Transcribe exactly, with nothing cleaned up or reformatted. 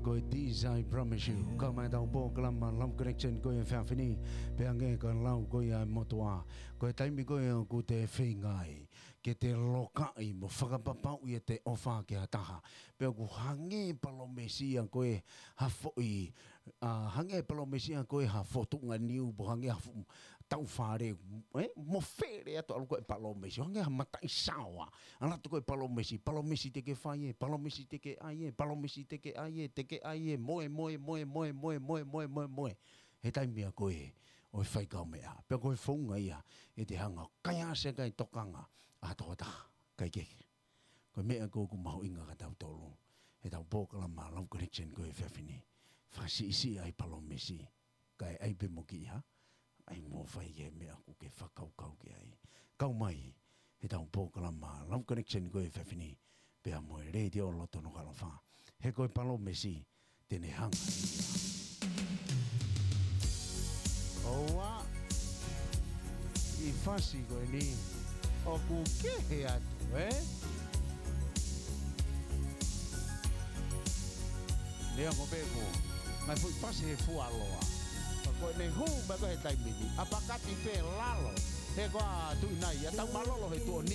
Ko e This I Promise You. Kau mai ʻetau polokalama Love Connection ko e efiafi ni, pea hangē ko e lau ko ia ʻa e motuʻa, ko e taimi ko ē ʻoku te feinga ai ke te lokaʻi mo fakapapauʻi ʻete ʻofa ki ha taha, pea ʻoku hangē palōmesi ia ko ē ha foʻi, ʻa, hangē palōmesi ia ko ē ha fotunga niu, pe hangē ha fu-, tau fale, ē? Mo fele atu ʻalu ko ē palōmesi, hangē ha mataʻi saoa. ʻAlu atu ko ē palōmesi, palōmesi te ke fai ē, palōmesi te ke ʻai ē, palōmesi te ke ʻai ē, te ke ʻai ē, moe, moe, moe. He taimi ia ko ē ʻo e fai kaumeʻa. Pea ko e founga ia ʻete hanga ʻo kaihaʻasi ʻaki e tokanga ʻa ha tokotaha, kae kehe. Ko e meʻa ko ē ʻoku mahuʻinga kia tautolu heʻetau polokalama Love Connection ko e efiafi ni. Fakasiʻisiʻi ʻa e palōmesi, kae ʻai pē mo kiʻi hā, ʻai mo fai ki he meʻa ʻoku ke fakakaukau ki ai. Kau mai heʻetau polokalama Love Connection ko e efiafi ni, pea mo e Letiō Loto Nukuʻalofa. He ko e palōmesi te ne hanga. ʻOua, ʻi he fasi ko eni ʻoku kehe atu, ē? Neongo pē ko e ngaahi foʻi fasi he fualoa, ka ko ʻene hū mai ko ē he taimi ni, ʻa pakati pē lalo. He ko e tuʻi nai, ʻa tau mālōlō he tuʻoni